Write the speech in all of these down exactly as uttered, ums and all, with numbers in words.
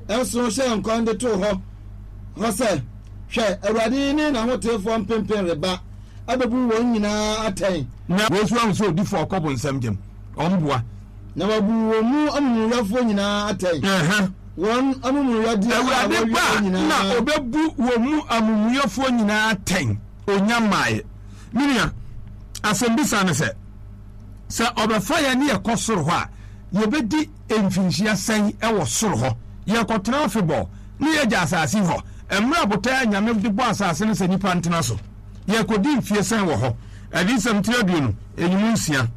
nson hyɛɛ nkɔm de too hɔ hɔ sɛ, Hwɛ, Awurade ne n'ahoteefoɔ mpempem reba abɛbu wɔn nyinaa atɛn. Na wei nso ahu sɛ odifoɔ kɔ bonsam gyam, ɔmboa. Na wabu wɔn mu amumuyɛfoɔ nyinaa atɛn. Wɔn amumuyɛdeɛ a Awurade wɔyɛ ba a nyinaa. na ɔbɛbu wɔn mu amumuyɛfoɔ nyinaa atɛn, ɔnya mmaeɛ. Me nua, asɛmbisa ne sɛ, sɛ ɔbɛfa yɛn ne yɛkɔ soro hɔ a, yɛbɛdi mfinhyia sɛn wɔ soro hɔ? Yɛrekɔtena afebɔɔ ne yɛagya asase hɔ? Mmerɛ a botaeɛ a Nyame de bɔɔ asase no sɛ nnipa ntena so, yɛrekɔdi mfie sɛn wɔ hɔ? Adiyisɛm tiri aduonu, nyimu nsia.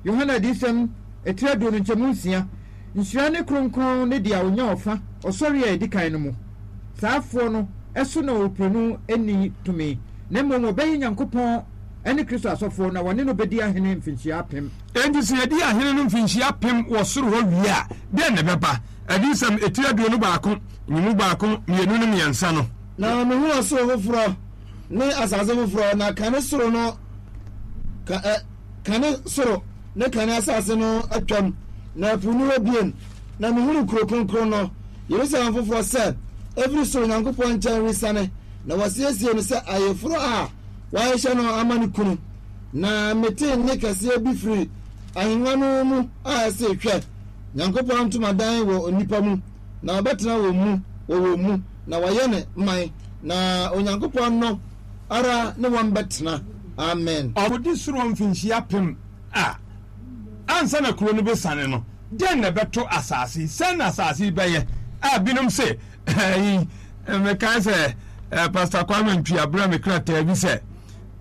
Yohane Adiyisɛm tiri aduonu nkyɛmu nsia, Nhyira ne kronkron ne deɛ ɔnya ɔfa ɔsɔreɛ a ɛdi kan no mu. Saa afoɔ no so na owuprenu nni tumi, na mmom wɔbɛyɛ Nyankopɔn ne Kristo asɔfoɔ, na wɔne no bɛdi ahene mfinhyia apem. Enti sɛ yɛdi ahene no mfinhyia apem wɔ soro hɔ wie a, dɛn na ɛbɛba? Adiyisɛm etiri aduonu baako, nyimu baako, mmienu ne mmiɛnsa no. Na mehuu ɔsoro foforɔ ne asase foforɔ, na kane soro no, ka, ɛ, kane soro ne kane asase no atwam, na ɛpo nni hɔ bio. Na mehunuu kuro kronkron no, Yerusalem foforɔ sɛ ɛfiri soro Nyankopɔn nkyɛn resiane, na wɔasiesie no sɛ ayeforɔ a wɔahyehyɛ no ama ne kunu. Na metee nne kɛseɛ bi firi ahennwa no mu a ɛse, Hwɛ! Nyankopɔn ntomadan wɔ nnipa mu, na ɔbɛtena wɔn mu, wɔ wɔn mu, na wɔayɛ ne man, na Onyankopɔn no ara ne wɔn bɛtena. Amen. Ɔkɔdi soro mfinhyia apem a, ansa na kuro no bɛsiane no, dɛn na ɛbɛto asase yi? Sɛn na asase yi bɛyɛ? A binom se, ɛyi, mekae sɛ eh, Pastor Kwame Ntwi abrɛ me krataa bi sɛ,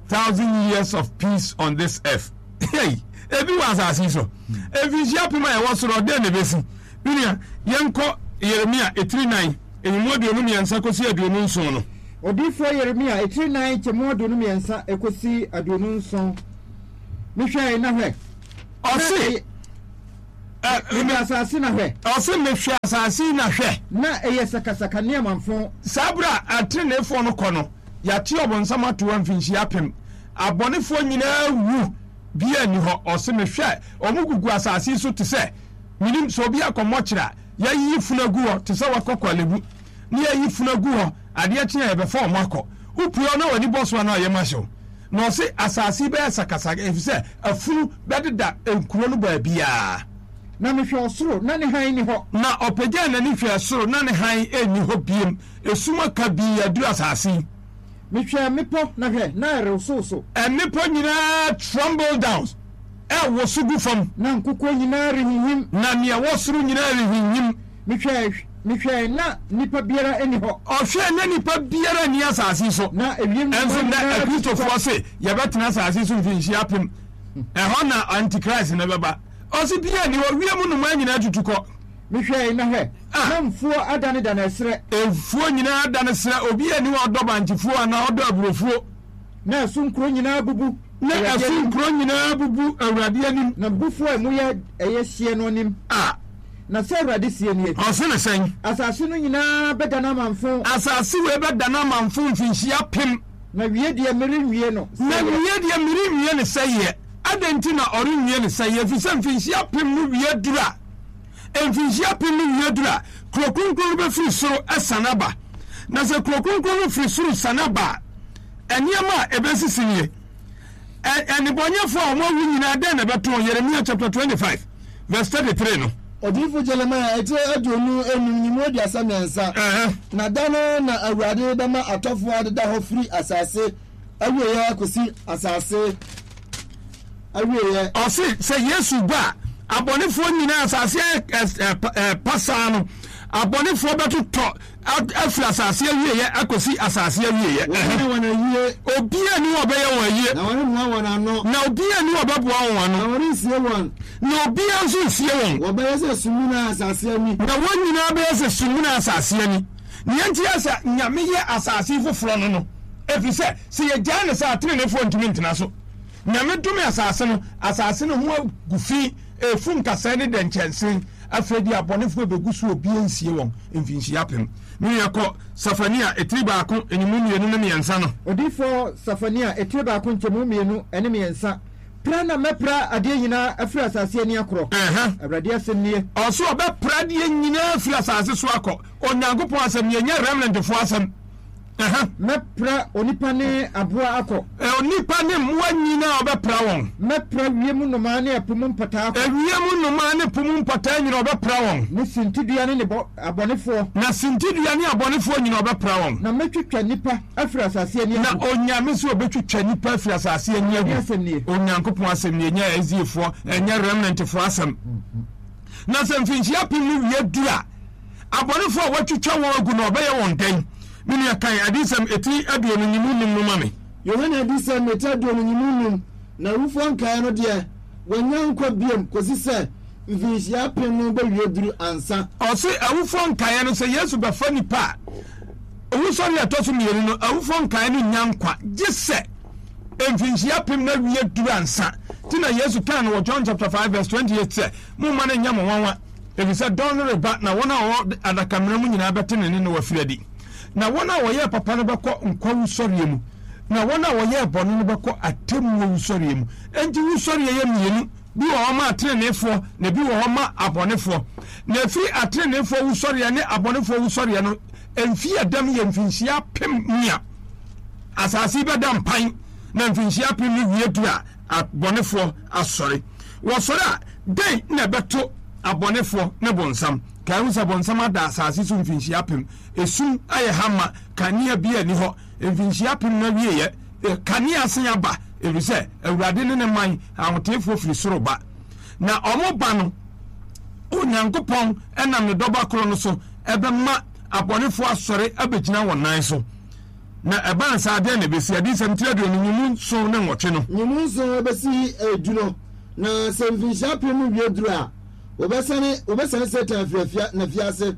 Thousand Years of Peace on This Earth. Hey, ebi wɔ asase yi so. Mfinhyia apem a ɛwɔ soro, dɛn na ɛbɛsi? Me nua, yɛnkɔ Yeremia etiri nan, nyimu aduonu mmiɛnsa kɔsi aduonu nson no. Odiyifoɔ Yeremia etiri nan nkyɛmu aduonu mmiɛnsa kɔsi aduonu nson. Mehwɛe, na hwɛ, na Ɔse, ɛyɛ, ɛ, mehwɛ asase na hwɛ. Ɔse, mehwɛ asase yi na hwɛ. Na ɛyɛ sakasaka ne amamfõ. Saa berɛ a ateneneefoɔ no kɔ no, yɛate ɔbonsam ato hɔ mfinhyia apem. Abɔnefoɔ nyinaa awu, biara nni hɔ. Ɔse, mehwɛ, wɔn gugu asase yi so te sɛ, menim, sɛ obi akɔ mɔkyere a, yɛayiyi funu agu hɔ te sɛ wakɔ Korle-Bu, na yɛayi funu agu hɔ, adeɛ kye a yɛbɛfa wɔn akɔ. Wopue hɔ na w'ani bɔ so a na ɔyam ahye wo. Na ɔse asase yi bɛyɛ sakasaka efisɛ afunu bɛdeda nkuro no baabiara. Na mehwɛɛ ɔsoro, na ne hann nni hɔ. Na ɔpagyaa n'ani hwɛɛ soro, na ne hann nni hɔ bio, esum kabii aduru asase yi. Mehwɛɛ mmepɔ, na hwɛ, na ɛrewosowoso. Mmepɔ nyinaa tremble down, ɛrewoso gu fam. Na nkokoɔ nyinaa rehinhim. Na nea ɛwɔ soro nyinaa rehinhim. Mehwɛe, mehwɛe, na nnipa biara nni hɔ. Ɔhwɛe, na nnipa biara nni asase yi so. Na ewiem nnomaa Ɛnso nnɛ nyinaa tutu Akristofoɔ kɔ. se yɛbɛtena asase yi so mfinhyia apem. Ɛhɔ na Antichrist no bɛba. Ɔse biara nni hɔ, wiem nnomaa nyinaa tutu kɔ. Mehwɛe, na hwɛ, Ah. na mfuo adanedane ɛserɛ. Mfuo nyinaa adane serɛ, obiara nni hɔ a ɔdɔ bankyefuo anaa ɔdɔ aburofuo. Na ɛso nkuro nyinaa abubu Na Awurade ɛso anim. nkuro nyinaa abubu Awurade anim. Na m'abufuo a emu yɛ ɛyɛ hyeɛ no anim. A. Na sɛ Awurade seɛ nie. Ɔse no sɛn? Asase no nyinaa bɛdane amamfo. Asase wei bɛdane amamfo mfinhyia apem. Na wie deɛ merenwie no Na sɛeɛ. wie deɛ merenwie no sɛeɛ. Adɛn nti na ɔrenwie no sɛeɛ? Ɛfiri sɛ mfinhyia apem no wie duru a, mfinhyia apem no wie duru a, kuro kronkron no bɛfiri soro asiane aba. Na sɛ kuro kronkron no firi soro siane aba a, nneɛma a ɛbɛsisi nie. Ɛ, nnebɔneyɛfoɔ a wɔawu nyinaa, dɛn na ɛbɛto wɔn? Yeremia chapter twenty five verse thirty three no. Odiyifo Jeremia etire aduonu enum ne mu aduasa mmiɛnsa. Ɛhɛ. Na da no na Awurade bɛma atɔfoɔ adeda hɔ firi asase awieeɛ kɔsi asase awieeɛ. Ɔse sɛ Yesu ba a, abɔnefoɔ nyinaa, asase ayɛ ɛ, ɛ, pasaa no, abɔnefoɔ bɛtotɔ afiri asase awieeɛ akɔsi asase awieeɛ. Wɔbɛyɛ wɔn ayie. Obiara nni hɔ a ɔbɛyɛ wɔn ayie. Na wɔremmoa wɔn ano. Na obiara nni hɔ a ɔbɛboa wɔn ano. Na wɔrensie wɔn. Na obiara nso nsie wɔn. Wɔbɛyɛ sɛ sumina asase ani. Na wɔn nyinaa bɛyɛ sɛ sumina asase ani. Nea enti a sɛ Nyame yɛ asase yi foforɔ no no, ɛfiri sɛ, sɛ yɛgyae no saa a, teneneefoɔ ntumi ntena so. Nyame dome asase no, asase no ho agu fi, ɛrefu nkasɛɛ ne dɛnkyɛnse. Afei deɛ abɔnefoɔ bɛgu so, obiara nsie wɔn mfinhyia apem. Me nua, kɔ Sefania etiri baako, nyimu mmienu ne mmiɛnsa no. Odiyifoɔ Sefania etiri baako nkyɛmu mmienu ne mmiɛnsa. Pra na mɛpra adeɛ nyinaa afiri asase ani akorɔ. Ɛhɛn. Awurade asɛm nie. Ɔso ɔbɛpra adeɛ nyinaa afiri asase so akɔ. Onyankopɔn asɛm nie, ɛnyɛ remnantfoɔ asɛm. Ɛhɛn. Mɛpra onipa ne aboa akɔ. Onipa ne mmoa nyinaa ɔbɛpra wɔn. Mɛpra wiem nnomaa ne ɛpo mu mpataa akɔ. Ewiem nnomaa ne po mu mpataa nyinaa ɔbɛpra wɔn. Ne sintidua ne ne bɔ abɔnefoɔ. Na sintidua ne abɔnefoɔ nyinaa ɔbɛpra wɔn. Na mɛtwitwa nnipa afiri asase ani Na agu. Onyame sɛ ɔbɛtwitwa nnipa afiri asase ani agu. Awurade asɛm nie. Onyankopɔn asɛm nie, ɛnyɛ Eziefoɔ, ɛnyɛ remnantfoɔ asɛm. Na sɛ mfinhyia apem no wie duru a, abɔnefoɔ a wɔatwitwa wɔn agu no, ɔbɛyɛ wɔn dɛn? Me nua, kan Adiyisɛm eti aduonu nyimu num no ma me. Yohane Adiyisɛm eti aduonu nyimu num, Na awufoɔ nkaeɛ no deɛ, wɔnnya nkwa biom kɔsi sɛ mfinhyia apem no bɛwie duru ansa. Ɔse awufoɔ nkaeɛ no, sɛ Yesu bɛfa nnipa a, owusɔre a ɛtɔ so mmienu no, awufoɔ nkaeɛ no nnya nkwa, gye sɛ mfinhyia apem no awie duru ansa. Nti na Yesu kaa no wɔ John chapter five verse twenty eight sɛ, Momma no nnyɛ mo nwanwa, efisɛ dɔn no reba na wɔn a wɔwɔ adakamena mu nyinaa bɛte ne nne na wɔafiri adi. Na wɔn a wɔyɛɛ papa no bɛkɔ nkwa wusɔreɛ mu, na wɔn a wɔyɛɛ bɔne no bɛkɔ atemmuo wusɔreɛ mu. Enti wusɔreɛ yɛ mmienu, bi wɔ hɔ ma ateneneefoɔ, na bi wɔ hɔ ma abɔnefoɔ. Na ɛfiri ateneneefoɔ wusɔreɛ ne abɔnefoɔ wusɔreɛ no, mfeɛ ɛdam yɛ mfinhyia apem nea asase yi bɛda mpan, na mfinhyia apem no wie duru a, abɔnefoɔ asɔre. Wɔsɔre a, dɛn na ɛbɛto abɔnefoɔ ne bonsam? Kae hu sɛ bonsam ada asase so mfinhyia apem. Esum ayɛ ha ma, kanea biara nni hɔ. Mfinhyia apem no awieeɛ, kanea asan aba, ɛfiri sɛ Awurade ne ne man ahoteefoɔ firi soro ba. Na wɔba no, Onyankopɔn nam ne Dɔba koro no so bɛma abɔnefoɔ asɔre abɛgyina wɔn nan so. Na ɛbaa no saa, dɛn na ɛbɛsi? Adiyisɛm tiri aduonu nyimu nson ne nwɔtwe no. Nyimu nson bɛsi du no, na sɛ mfinhyia apem no wie duru a, wɔbɛsane wɔbɛsane Satan afiri afia n'afiase,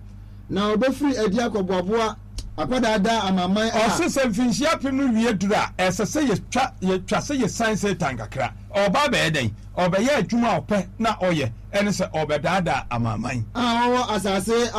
na ɔbɛfiri adi akɔboaboa akɔdaadaa amanaman a. Ɔse sɛ mfinhyia apem no wie duru a, ɛsɛ sɛ yɛtwa yɛtwa sɛ yɛsan Satan kakra. Ɔreba abɛyɛ dɛn? Ɔrebɛyɛ adwuma a ɔpɛ na ɔyɛ, ɛne sɛ ɔrebɛdaadaa amanaman. A wɔwɔ asase